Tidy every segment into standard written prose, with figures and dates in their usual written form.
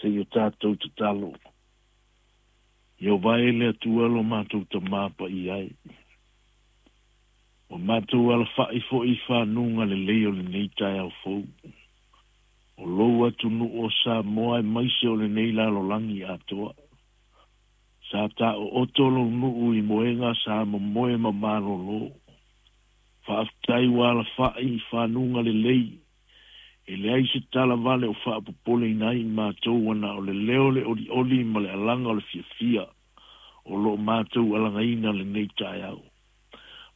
Seia tatou tatalo. Ieova e le Atua lo matou Tamā paia e, ua matou alafa'i foi i fanuga lelei o lenei taeao fou, o lou atunuu o Samoa aemaise o lenei lalolagi atoa. Sa taooto lou nuu i moega sa momoe ma malolo. Faafetai ua alafa'i i fanuga lelei, e leai se tala vale o faapopoleina ai i matou ua na o le leo o le olioli ma le alaga o le fiafia o lo o matou alagaina lenei taeao.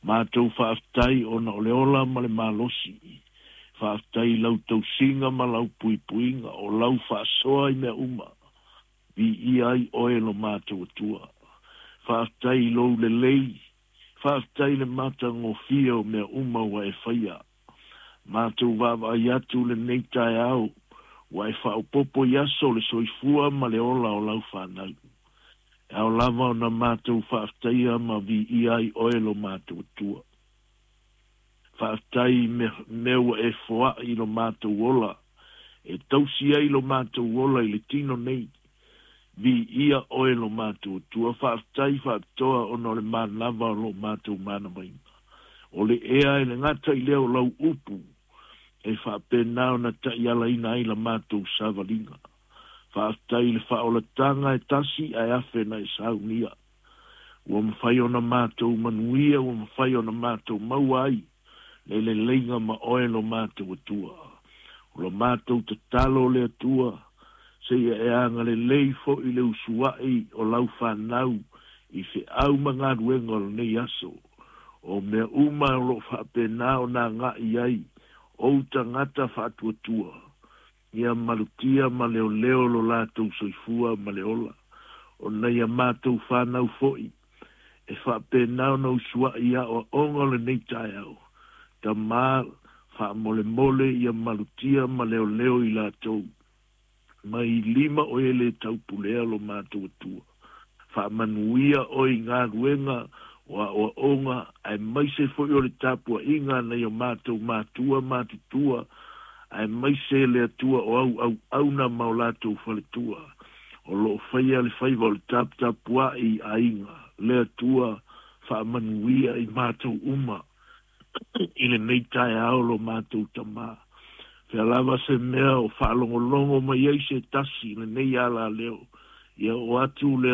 Matou faafetai ona o le ola ma le malosi. Faafetai i lau tausiga ma lau puipuiga, o lau faasoa i mea uma. Viia ai oe lo matou Atua. Faafetai i lou lelei, faafetai i le matagofie o mea uma ua e faia. Matou vaavaai atu lenei taeao ua e faaopoopo i aso o le soifua ma le ola o lau fanau. E ao lava ona matou faafetaia ma viia ai oe lo matou Atua. Faafetai i mea ua e foai i lo matou ola, e tausi ai lo matou ola i le tino nei. Viia oe lo matou Atua. Faafetai faapitoa ona o le manava o lo matou manavaina. O le ea e le gata i lea o lau upu e faapena ona taialaina ai la matou savaliga. Faafetai i le faaolataga e tasi ae afe na e saunia. Ua mafai ona matou manuia, ua mafai ona matou maua ai le leleiga ma oe lo matou Atua. O lo matou tatalo le Atua, seia e agalelei foi le usuai o lau fanau i feau ma galuega o lenei aso. O mea uma o lo o faapena ona agai ai ou tagata faatuatua, ia malutia ma leoleo lo latou soifua ma le ola. O nai a matou fanau foi, e faapena ona usuai i aoaoga o lenei taeao, Tamā, faamolemole ia malutia ma leoleo i latou. Mai lima o e le taupulea lo matou Atua. Faamanuia oe i galuega o aoaoga aemaise foi o le tapuaiga a nai o matou matua matutua aemaise le Atua o au auauna ma o latou faletua o lo o faia le faiva o le taputapuai i aiga. Le Atua faamanuia i matou uma i lenei taeao lo matou Tamā. Fea lava se mea o faalogologo mai ai se tasi i lenei alaleo, ia oo atu le